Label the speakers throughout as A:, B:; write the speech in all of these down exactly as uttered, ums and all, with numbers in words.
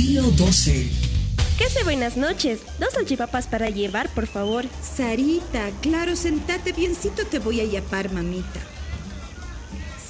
A: Río doce.
B: ¿Qué hace? Buenas noches. Dos salchipapas para llevar, por favor.
C: Sarita, claro, sentate biencito, te voy a yapar, mamita.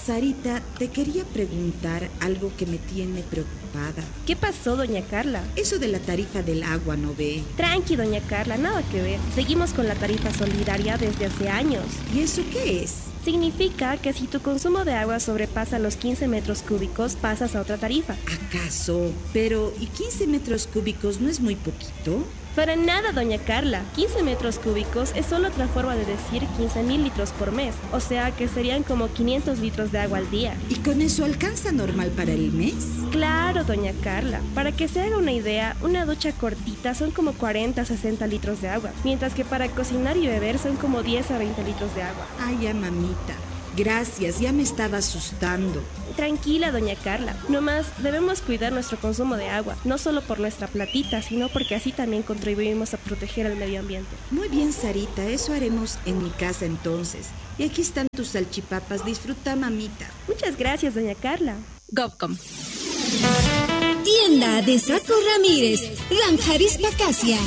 C: Sarita, te quería preguntar algo que me tiene preocupada.
B: ¿Qué pasó, doña Carla?
C: Eso de la tarifa del agua, ¿no ve?
B: Tranqui, doña Carla, nada que ver. Seguimos con la tarifa solidaria desde hace años.
C: ¿Y eso qué es?
B: Significa que si tu consumo de agua sobrepasa los quince metros cúbicos, pasas a otra tarifa.
C: ¿Acaso? Pero, ¿y quince metros cúbicos no es muy poquito?
B: Para nada, doña Carla. quince metros cúbicos es solo otra forma de decir quince mil litros por mes. O sea que serían como quinientos litros de agua al día.
C: ¿Y con eso alcanza normal para el mes?
B: Claro, doña Carla. Para que se haga una idea, una ducha cortita son como cuarenta a sesenta litros de agua. Mientras que para cocinar y beber son como diez a veinte litros de agua.
C: Ay, ya, mamita. Gracias, ya me estaba asustando.
B: Tranquila, doña Carla. Nomás debemos cuidar nuestro consumo de agua, no solo por nuestra platita, sino porque así también contribuimos a proteger el medio ambiente.
C: Muy bien, Sarita, eso haremos en mi casa entonces. Y aquí están tus salchipapas, disfruta, mamita.
B: Muchas gracias, doña Carla.
D: Gobcom.
E: Tienda de Saco Ramírez, Ranjarispa Casia.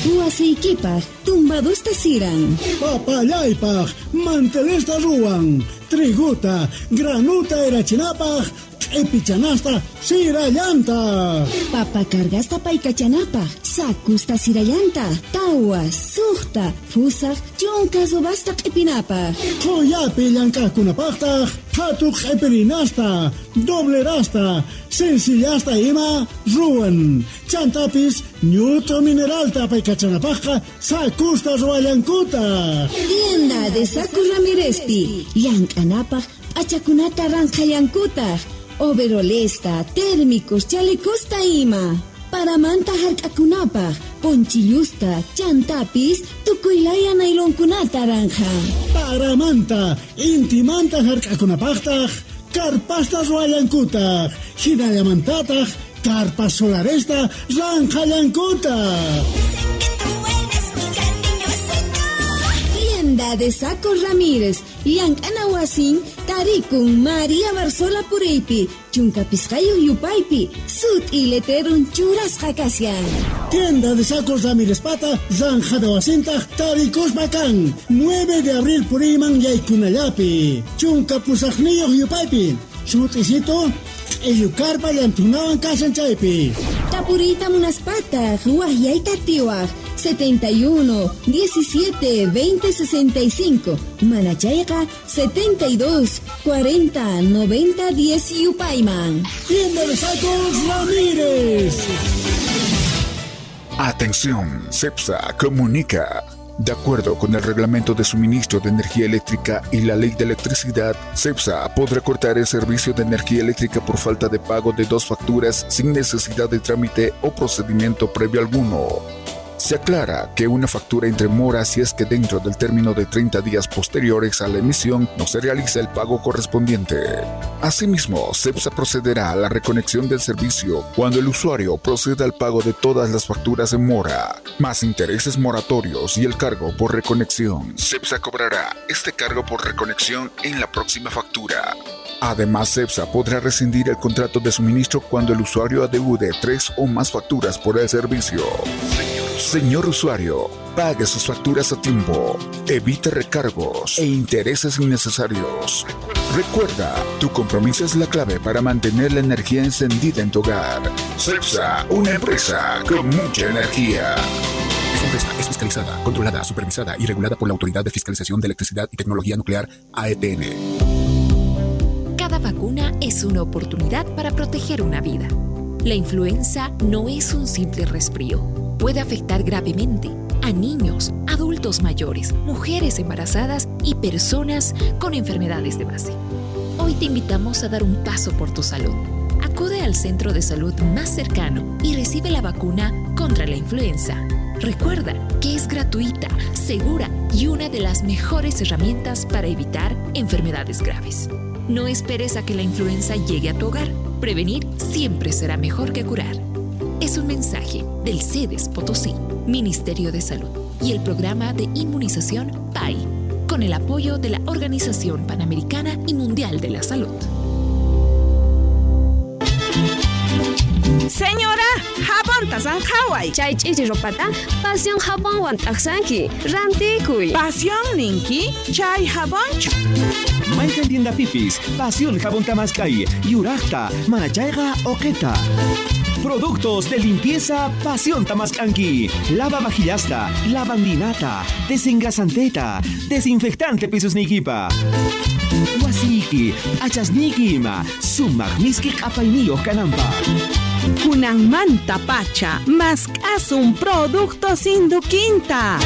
E: Huaseikipaj, tumbadusta siran.
F: Papallaypaj, mantelesta ruwan. Triguta, granuta erachinapaj, q'ipichanasta sirallanta.
E: Papa cargasta paykachanapaj, sakusta sirallanta, tawa, suqta, fusaj, chunka subasta q'ipinapaj.
F: Qoyapi llank'aqkunapaqtaq, qhatu q'ipirinasta, doblerasta, sencillasta ima ruwan. Chantapis ñut'u mineralta paykachanapaqqa sakusta ruwallankuta.
E: Tienda de Saco Ramírezpi, llank'anapaj p'achakunata ranqhallankutaq. Overolesta, térmicos, chalecosta ima. Paramanta hark'akunapaj, ponchillusta, chantapis, tukuylaya nailonkunata ranja.
F: Paramanta, intimanta hark'akunapaqtaq, karpasta ruwallankutaq, hinallamantataq, karpas solaresta ranqhallankutaq.
E: Tienda de Saco Ramírez, llank'ana wasin, tarikun María Barzola Puriypi, chunka pisqayuq yupaypi, sut'i letrerun churasqa kashan.
F: Tienda de Sacos Ramírez Pata, Zanjada wasintaq, tarikuspa kan, nueve de abril puriyman yaykunallapi, chunka pusaqniyuq yupaypi, sut'isito, q'illukarpa llantunawan kashan chaypi.
E: Tapuriyta munaspataq, waqyayta atiwaq, setenta y uno, diecisiete, veinte, sesenta y cinco, Manachayqa, setenta y dos, cuarenta, noventa, diez yupayman.
F: Tienda de Sacos Ramírez.
G: Atención, CEPSA comunica. De acuerdo con el Reglamento de Suministro de Energía Eléctrica y la Ley de Electricidad, CEPSA podrá cortar el servicio de energía eléctrica por falta de pago de dos facturas sin necesidad de trámite o procedimiento previo alguno. Se aclara que una factura entre mora si es que dentro del término de treinta días posteriores a la emisión no se realiza el pago correspondiente. Asimismo, CEPSA procederá a la reconexión del servicio cuando el usuario proceda al pago de todas las facturas en mora, más intereses moratorios y el cargo por reconexión. CEPSA cobrará este cargo por reconexión en la próxima factura. Además, CEPSA podrá rescindir el contrato de suministro cuando el usuario adeude tres o más facturas por el servicio. Señor usuario, pague sus facturas a tiempo, evite recargos e intereses innecesarios. Recuerda, tu compromiso es la clave para mantener la energía encendida en tu hogar. CEPSA, una empresa con mucha energía.
H: Esta empresa es fiscalizada, controlada, supervisada y regulada por la Autoridad de Fiscalización de Electricidad y Tecnología Nuclear, A E T N.
I: Cada vacuna es una oportunidad para proteger una vida. La influenza no es un simple resfrío. Puede afectar gravemente a niños, adultos mayores, mujeres embarazadas y personas con enfermedades de base. Hoy te invitamos a dar un paso por tu salud. Acude al centro de salud más cercano y recibe la vacuna contra la influenza. Recuerda que es gratuita, segura y una de las mejores herramientas para evitar enfermedades graves. No esperes a que la influenza llegue a tu hogar. Prevenir siempre será mejor que curar. Es un mensaje del SEDES Potosí, Ministerio de Salud y el programa de inmunización P A I, con el apoyo de la Organización Panamericana y Mundial de la Salud.
A: Señora, jabonta zanjaway.
D: Chay ch'ichi ropata Pasión jabonwan t'aqsanki. Rantikuy.
A: Pasión ninki, chay jabonchu.
J: Mayqan tiendapipis, Pasión jabón tamaskay, yuraqta, manachayqa oqeta. Productos de limpieza Pasión Tamascanqui. Lava vajillasta, lavandinata, desengrasanteta, desinfectante pisusnikipa. Wasiki, achasniki ima, sumaq miski q'apayniyuq kananpaq.
A: Kunanmanta pacha, mask'asun productos Induquinta.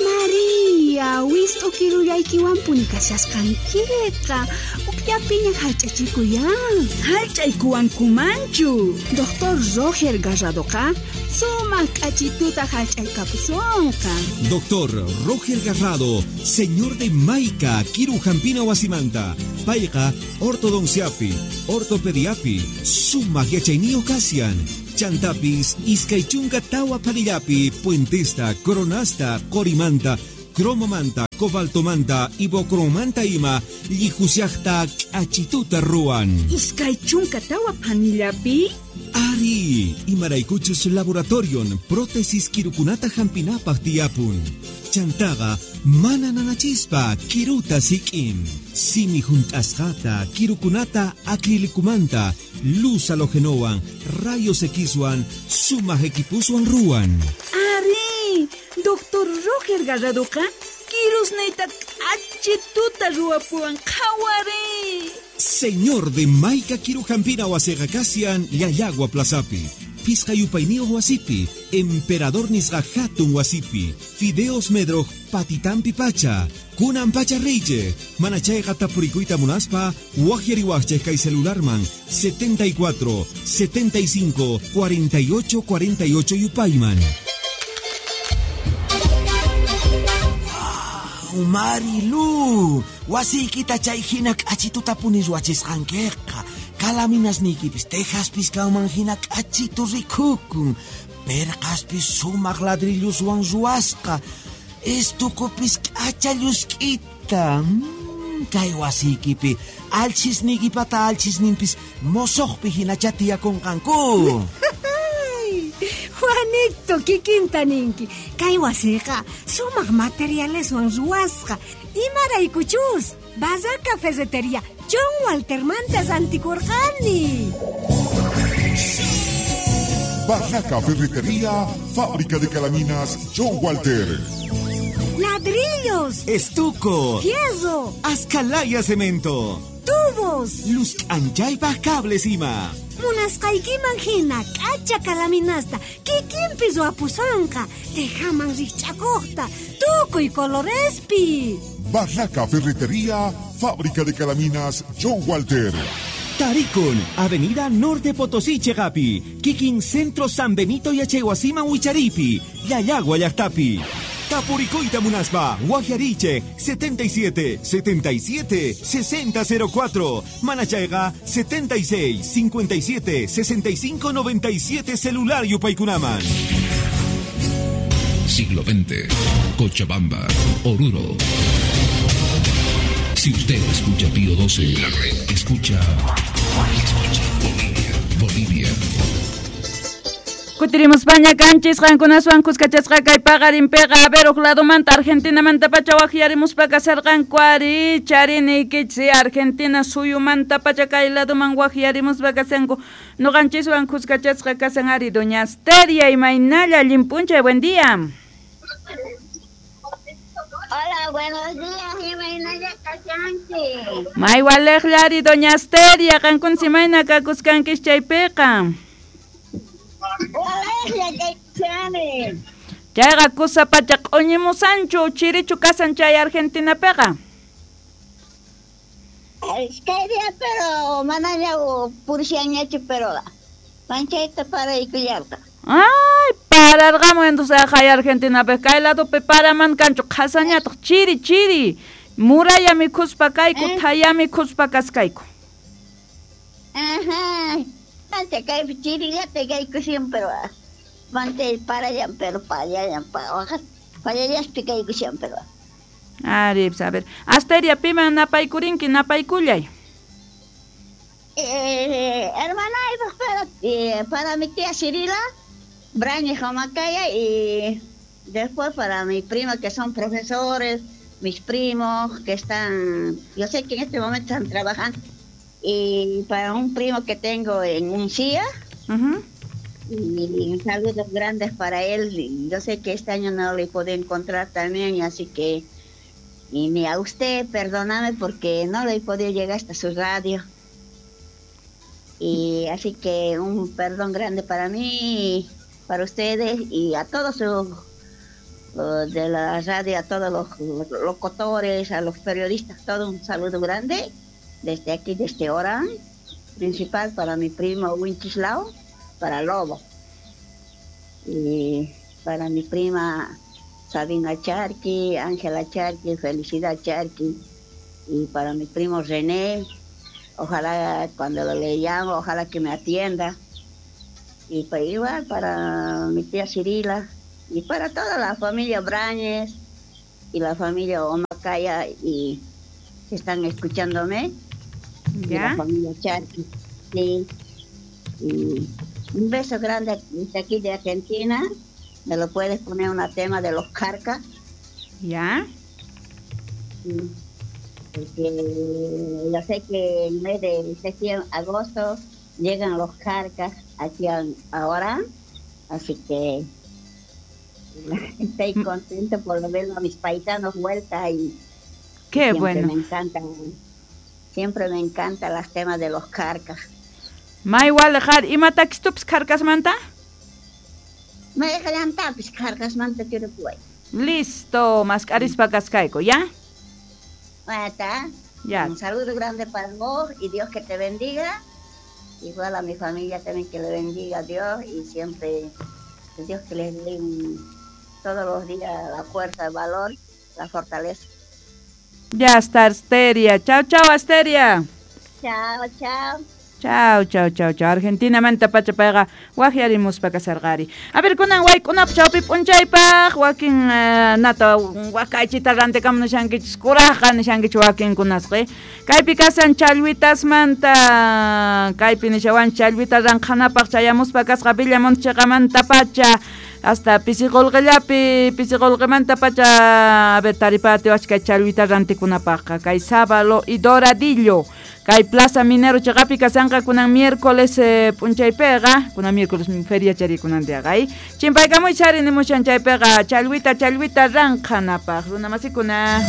K: María, wist'u kirullaykiwanpuni kashasqankiqa. Ukllapiña hallch'achikuyan.
L: Hallch'aykuwankumanchu.
K: Doctor Roger Garradoqa sumaq k'achituta hallch'aykapusunqa.
J: Doctor Roger Garrado, señor de Maica, Kiru Jampina Wasimanta, Payqa, ortodonciapi, ortopediapi, sumaq yachayniyuq kasian. Chantapis, iskay chunka tawa panillapi, puentesta, coronasta, corimanta, cromomanta, cobaltomanta, ibocromanta ima, llijusiaqta k'achituta ruwan.
L: Iskay chunka tawa panillapi?
J: Ari, imaraykuchus laboratorion, prótesis kirukunata hampinapaq tiyapun. Chantaqa, mana nanachispa, kiruta sik'in. Simi junt'asqata, kirukunata acrilicumanta, luz halogenowan, rayos Xwan, sumaq equipuswan ruwan.
L: Ari, Doctor Roger Garradoqa, kirusniyta k'achituta ruwapuwan qhawari.
J: Señor de Maica Kirujampina wasiqa kasian Llallagua Plazapi, Pisqa yupayniyuq wasipi, Emperador nisqa hatun wasipi, Fideos Medroj patitampi pacha, kunan pacha riychej, manachayqa tapurikuyta munaspa, waqyariwaqchej kay celularman setenta y cuatro, setenta y cinco, cuarenta y ocho, cuarenta y ocho yupayman.
M: Marilu, wasiykita chay hina k'achituta puni ruwachisqankiqa. Kalaminasniykipis tejaspis kanman hina k'achitu rikukun. Perqaspis sumaq ladrilluswan ruwasqa. Estukupis k'acha llusk'ita. Mm, kay wasiykipi alchisniykipata alchisninpis mosoqpi hinacha tiyakunqanku.
N: Juanito, kikinta ninki. Kay wasiqa sumaq materialeswan ruwasqa. Imaraykuchus, Barraca Ferretería John Waltermanta rantikurqani.
G: Barraca Ferretería, fábrica de calaminas John Walter.
N: Ladrillos,
J: estuco,
N: fierro,
J: ascalaya cemento,
N: tubos,
J: luz anchaypaj cables ima.
N: Munasqaykiman hina k'acha kalaminasta kikinpi ruwapusonqa, tejaman rikch'akuqta, tukuy colorespi.
G: Barraca Ferretería, fábrica de calaminas John Walter.
J: Tarikun, Avenida Norte Potosí Chegapi, Kikin Centro San Benito Yachaywasiman Wicharipi, Llallagua llaqtapi. Tapurikuyta munaspa, Guajariche, setenta y siete, setenta y siete, sesenta cero cuatro, Manachayga, setenta y seis, cincuenta y siete, sesenta y cinco, noventa y siete, celular yupaykunaman.
O: Siglo veinte, Cochabamba, Oruro. Si usted escucha Pío doce, la red escucha, escucha Bolivia, Bolivia.
P: Kutirimuspaña kanchis qankunaswan kuskachasqa kay paqarinpiqa a ver uq ladomanta Argentinamanta pacha waqyarimuspa kasarqanku ari chariniykichis Argentina suyumanta pacha kay ladoman waqyarimuspa kasanku nuqanchiswan kuskachasqa kasan ari doña Asteria imaynalla allin p'unchay, buen día.
Q: Hola, buenos días, imaynalla kashanki.
P: May waliqlla ari doña Asteria, qankunsi mayna kakuskankish chaypiqa. Chayqa kusa pacha q'uñimusanchu chirichu kasan chay Argentinapiqa.
Q: Kay día pero manaña purishanñachu pero manchayta paraykullarqa.
P: Ay, pararqamu entonces hay Argentinapi kay ladopi paraman kanchu qhasañataq chiri chiri muralla mikhuspa kayku thaya mikhuspa kaskayku.
Q: Ajá. Mante kaypi chirillata kaykushan pero mante parallan pero pallallan pallallaspi kaykushan pero.
P: Ari, a ver. Asteria, piman napaykurinki, napaykullay.
Q: Eh, Hermana, para, eh, para mi tía Cirila, Brañez Jomacaya, y después para mi prima que son profesores, mis primos que están, yo sé que en este momento están trabajando, y para un primo que tengo en Uncía,
P: uh-huh.
Q: Y saludos grandes para él. Yo sé que este año no le puedo encontrar también, así que, y ni a usted, perdóname porque no le he podido llegar hasta su radio. Y así que un perdón grande para mí, para ustedes y a todos los de la radio, a todos los locutores, a los periodistas, todo un saludo grande desde aquí, desde Orán, principal para mi primo Winchislao, para Lobo, y para mi prima Sabina Charqui, Ángela Charqui, Felicidad Charqui, y para mi primo René, ojalá cuando le llamo, ojalá que me atienda, y para igual para mi tía Cirila, y para toda la familia Brañez y la familia Omacaya y que están escuchándome.
P: ¿Ya?
Q: Y la familia Charqui. Sí. Y un beso grande desde aquí de Argentina. Me lo puedes poner una tema de los Carcas.
P: ¿Ya?
Q: Sí. Porque yo sé que en mes de septiembre, agosto llegan los Carcas aquí ahora. Así que estoy contento por ver a mis paisanos vuelta y
P: qué
Q: siempre
P: bueno.
Q: Me encantan, siempre me encantan los temas de los Carcas.
P: Ma igual dejar, ¿y matakistups Carcas manta?
Q: Me dejan Carcas manta quiero pues.
P: Listo, mascarispa cascaico, ¿ya?
Q: Está.
P: Ya.
Q: Un saludo grande para vos y Dios que te bendiga. Igual a mi familia también que le bendiga Dios y siempre Dios que les dé un, todos los días la fuerza, el valor, la fortaleza.
P: Ya está, Asteria. Chao, chao, Asteria.
Q: Chao, chao.
P: Chao, chao, chao, chao. Argentina manta pacha payqa waqyarimuspa kasarqari. A ver, kunan waykunap chawpi p'unchaypaq wakin uh, nata wakaychita rantikamu nishankichis kurajqa nishankichis wakinkunasqa. Kaypi kasan challwitasmanta, kaypi nishawan challwita ranqhanapaq chayamuspa kasqa Villamonte chiqamanta pacha hasta pisiqolqillapi pisiqolqimanta pacha a ver taripatiwach kay challwita rantikunapaqqa kay Sábalo y Doradillo. Kay Plaza Minero chiqapi kasanqa kunan miércoles eh, p'unchaypiqa kunan miércoles feria chari kunan diaqa ay chimpaykamuy chari nimushan chaypiqa challwita challwita ranqhanapaq runa masikuna.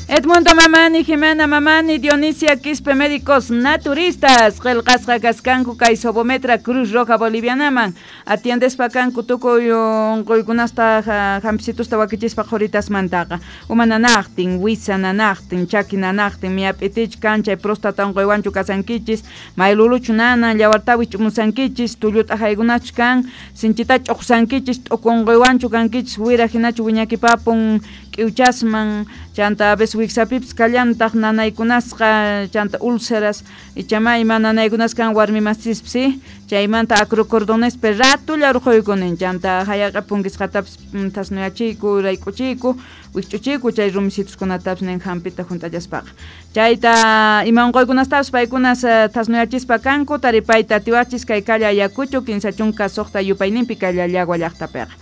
P: Edmundo Mamani, Jimena Mamani, Dionisia Quispe, médicos naturistas, qillqasqa kaskanku kay Sobometra Cruz Roja Bolivianaman, atiendespa kanku tukuy unquykunasta hampisitusta wakichispa qhuritasmantaqa, uma nanaqtin, wisa nanaqtin, chaki nanaqtin, miyap'itichu kan chay próstata unquywanchu kasankichis, mayluluchu nanan, llawartawi ch'umusankichis, tullu t'ajaykunachu kan, sinchita ch'uqsankichis, t'uku unquywanchu kankichis, wira hinachu wiñakipapun k'iwchasman, chanta a veces wiksapipis kallantaq nanaykunasqa, chanta úlceras, ichamay ima nanaykunas kan warmi masispis, chaymanta acrocordonespi ratulla urquykunin, chanta hayaqa punkisqatapis thasnuyachiyku, rayk'uchiyku, wikch'uchiyku chay rumisituskunatapis nin hampita hunt'allaspaqa. Chayta ima unquykunastapis paykunas thasnuyachispa kanku, taripayta atiwachis kay calle Ayacucho, kinsa chunka suqta yupayninpi kay Llallagua llaqtapiqa.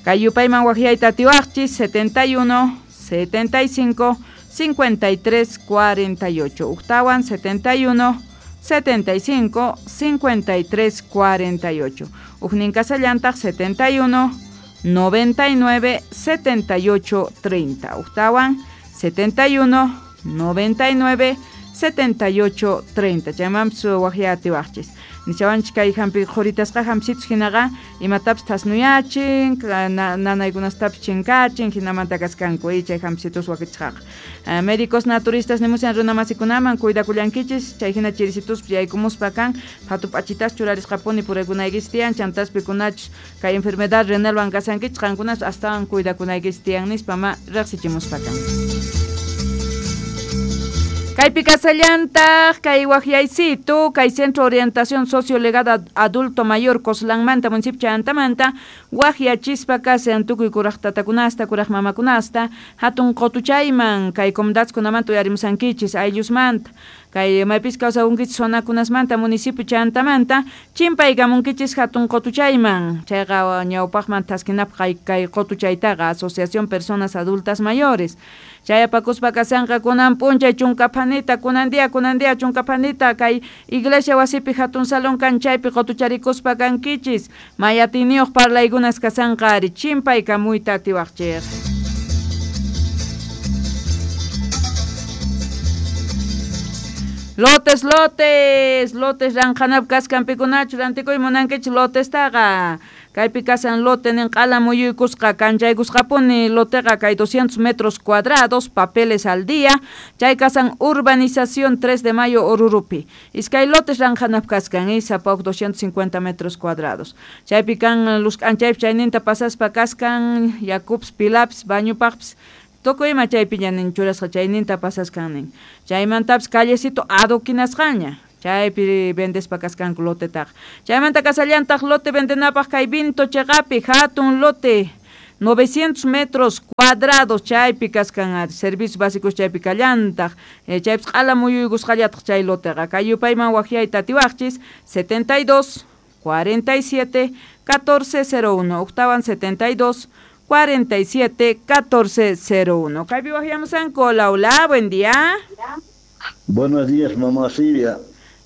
P: Kay yupayman waqyayta atiwaqchis setenta y uno, setenta y cinco, cincuenta y tres, cuarenta y ocho. Octawan setenta y uno, setenta y cinco, cincuenta y tres, cuarenta y ocho. Ujnin kasallantaq setenta y uno, noventa y nueve, setenta y ocho, treinta. Octawan setenta y uno, noventa y nueve, setenta y ocho, treinta. Chaymanpis waqya atiwaqchis. Nishawanchik kay hampi qhuritasqa hampisitus hinaqa imatapis thasnuyachin, nanaykunastapis chinkachin, hinamanta kaskanku chay hampisitus wakichisqaqa. Uh, médicos naturistas nimushan runa masikunaman cuidakullankichis, chay hina chirisituspi yaykumuspa kan, phatu p'achitas churarisqapuni puraykunaykichis tiyan, chantaspi pikunachus kay enfermedad renalwan kasankichis, qankunas astawan cuidakunaykichis tiyan nispa ma riqsichimuspa kan. Kaypi kasallantaq kay waqyaysitu kay Centro Orientación Sociolegada Adulto Mayor Coslanmanta municipio Chantamanta waqyachispa kasan tukuy kuraq tatakunasta kuraq mamakunasta hatun qutuchayman kay comunidadkunamanta uyarimusankichis ayllusmanta Kay maypis kawsakunkichis zonakunasmanta municipio chantamanta chimpaykamunkichis hatun qotuchayman. Chayqa ñawpaqman taskinapaq kay qotuchaytaqa Asociación Personas Adultas Mayores. Chayapakuspa kasanqa kunan p'unchay chunka phanita kunan día kunan día chunka phanita kay iglesia wasipi hatun salón kan chaypi qotucharikuspa kankichis mayatiniyuq parlaykunas kasanqa ari chimpaykamuyta atiwaqchik. Lotes, lotes, lotes ranqanap kaskan pikunachu rantikuy munankichik lotestaqa. Kaypi kasan lote nin q'ala muyuykusqa kanchaykusqapuni loteqa kay doscientos metros cuadrados, papeles al día, chay kasan urbanización tres de mayo Orurupi. Iskay lotes ranqanap kaskan sapa huk doscientos cincuenta metros cuadrados. Chaypi kan lusk'anchaypi chayninta pasaspa kaskan yakups pilaps bañupaqpis tukuy ima chaypiña nin churasqa chayninta pasaskan nin. Chaymantapis callecito adoquinasqaña. Chaypi vendespa kaskanku lotetaqa. Chaymanta kasallantaq lote vendenapaq kay vinto cheqapi hatun lote novecientos metros cuadrados chaypi kaskan servicios básicos chaypi kallantaq. Eh, chaypis q'ala muyuykusqallataq chay loteqa. Kay yupayman waqyayta atiwaqchis setenta y dos, cuarenta y siete, catorce cero uno. Octavan setenta y dos, cuarenta y siete, catorce cero uno. Kaypi waqyamusanku. Hola, hola, buen día.
R: Buenos días, mamá Silvia.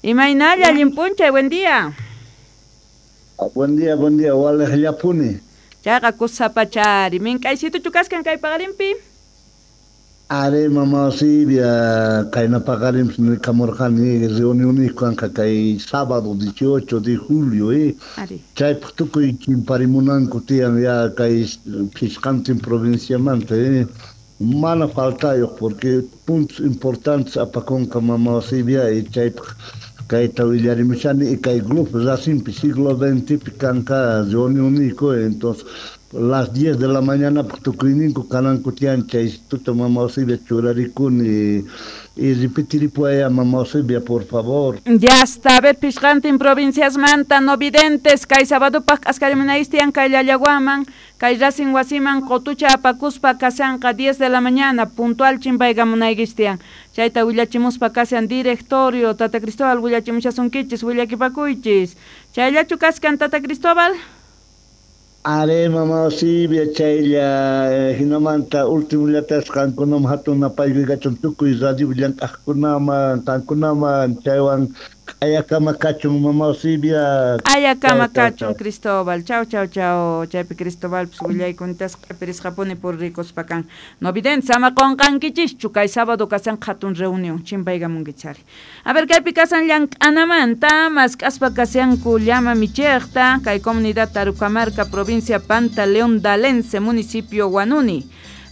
P: Imaynalla, allinpunchay, buen día.
R: Buen día, buen día, walejllapuni.
P: Chayqa kusapachari, mink'aysituchu kaskan kay paqarinpi?
R: Are, mamá Silvia, kayna paqarinpis nikamurqani reunioniyku kanqa kay sábado dieciocho de julio, eh. Chaypaq tukuy chimparimunanku tiyan ya kay phisqantin provinciamanta, eh. Mana faltayuq porque puntos importantes apakunqa mamá Silvia y chaypaq kayta willarimushani y kay grupo Racingpi siglo veintipi kanqa reunioniyku, entonces las diez de la mañana tukuyninku kananku tiyan chay tuta mamá Silvia churarikuni y repetiripuaya mamá Silvia por favor.
P: Ya está, a ver, pishqantin provinciasmanta no videntes kay sabadupaq k'askarimunayis tiyan kay Llallawaman kay Racing wasiman qotucha apakuspa kasanqa diez de la mañana puntual chimpaykamunaykis tiyan. Chayta willachimuspa kasan directorio Tata Cristóbal willachimushasunkichis willakipakuychis. Chayllachu kaskan Tata Cristóbal?
R: Are mamá Silvia chaylla hinamanta último llatas qankunaman hatun napaykuy kachun tukuy radio llank'aqkunaman qankunaman chaywan q'ayakama kachun mamá Silvia.
P: Q'ayakama kachun Cristóbal. Chau chau chau. Chaypi Cristóbalpis willaykuntas q'ipirisqapuni purrikuspa kan. No videntes ama qunqankichischu kay sábado kasan hatun reunión chimpaykamunkichari. A ver kaypi kasan llank'anamanta mask'aspa kasyanku llama michiqta kay comunidad Tarucamarca provincia Pantaleón Dalense municipio Huanuni.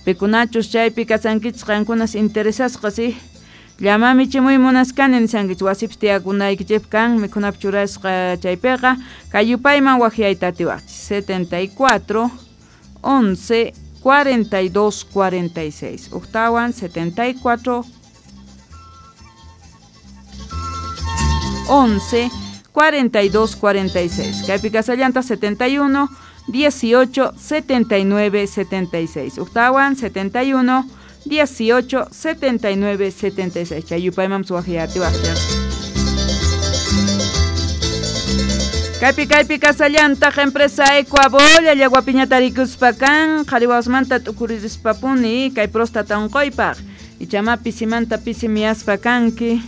P: Pikunachus chaypi kasankichis qankunas interesasqa si llama michimuy munaskani nisankichis wasipis tiyakunaykichik kan mikhunap churasqa chaypiqa kay yupayman waqyayta atiwaqchis setenta y cuatro, once, cuarenta y dos, cuarenta y seis. Octawan setenta y cuatro, once, cuarenta y dos, cuarenta y seis. Kaypi kasallanta setenta y uno, dieciocho, setenta y nueve, setenta y seis. Octawan setenta y uno, dieciocho, setenta y nueve, setenta y seis. Chayupayman suwaqyati waqyaq. Kaypi kaypi kasallantaq empresa Ecuabol llallawapiñata rikuspa kan qhariwasmanta t'ukuririspapuni kay próstata unquypaq ichama pisimanta pisi miyaspa kanki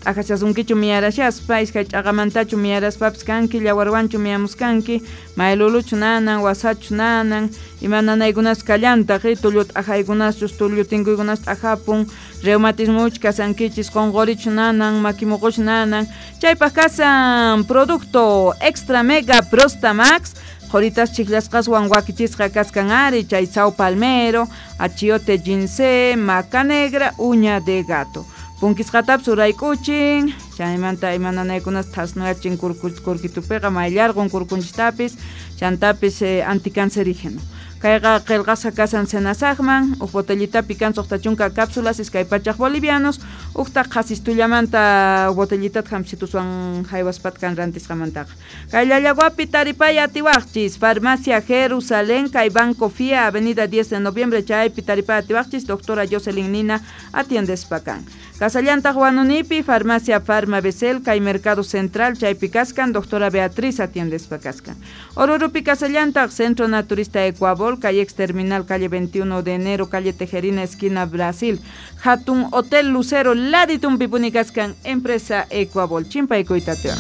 P: t'ajachasunkichu miyarashaspa iskay ch'aqamantachu miyaraspapis kanki llawarwanchu miyamuskanki mayluluchu nanan wasachu nanan ima nanaykunas kallantaq tullu t'ajaykunaschus tullu tinkuykunas t'ajapun reumatismuch kasankichis qunqurichu nanan makimuquchu nanan chaypaq kasan producto extra mega Prostamax qhuritas chiklasqaswan wakichisqa kaskan ari chay sao palmero achiote ginseng maca negra uña de gato punkisqatapis urayk'uchin chaymanta ima nanaykunas thasnuyachin kurkitupiqa mayllarqun kurkunchistapis chantapis eh, anticancerígeno. Kayqa qillqasqa kasan senasaqman huk botellitapi kan suqta chunka cápsulas iskay pachaq bolivianos uktaq qhasistullamanta botellitata hamsituswan haywaspat kan rantisqamantaqa. Kay Llallawapi taripay atiwaqchis Farmacia Jerusalén kay Banco F I A Avenida diez de Noviembre chaypi taripay atiwaqchis doctora Jocelyn Nina atiendespa kan. Casallantaq Wanunipi, Farmacia Farma Becel, kay Mercado Central, chaypi kaskan, doctora Beatriz atiendespa kaskan. Orurupi Casallantaq, Centro Naturista Ecuabol, calle ex terminal, calle veintiuno de enero, calle Tejerina, esquina Brasil. Hatun Hotel Lucero, Laditumpi puni kaskan, empresa Ecuabol. Chimpaykuytatewa.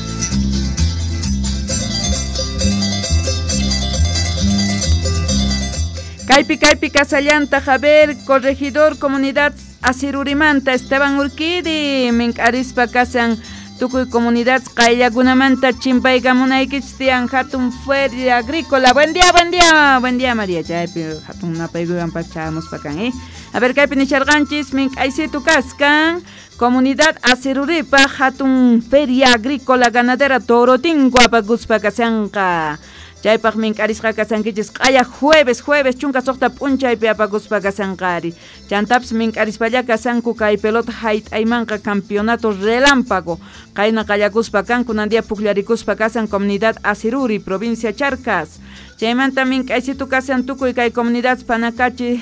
P: Kaypi kaypi Casallanta, Javier, corregidor, comunidad Asirurimanta, Esteban Urquidi, mink'arispa kasan tukuy comunidad qayllakunamanta chimpaykamunaykichis tiyan hatun feria agrícola. Buen día, buen día, buen día María, chaypi hatun napaykuwan pachamuspa kan, eh. A ver, kaypi nisharqanchis mink'aysitu kaskan comunidad Asiruripa hatun feria agrícola ganadera Torotinco apakuspa kasanqa. Chaypaq mink'arisqa kasankichis q'aya jueves, jueves chunka suqta p'unchaypi apakuspa kasanqari. Chantapis mink'arispalla kasanku kay pelota hayt'aymanqa campeonato relámpago. Qayna qallakuspa kan kunan día pukllarikuspa kasan comunidad Asiruri, provincia Charcas. Chaymanta mink'aysitu kasan tukuy kay comunidad Panacachi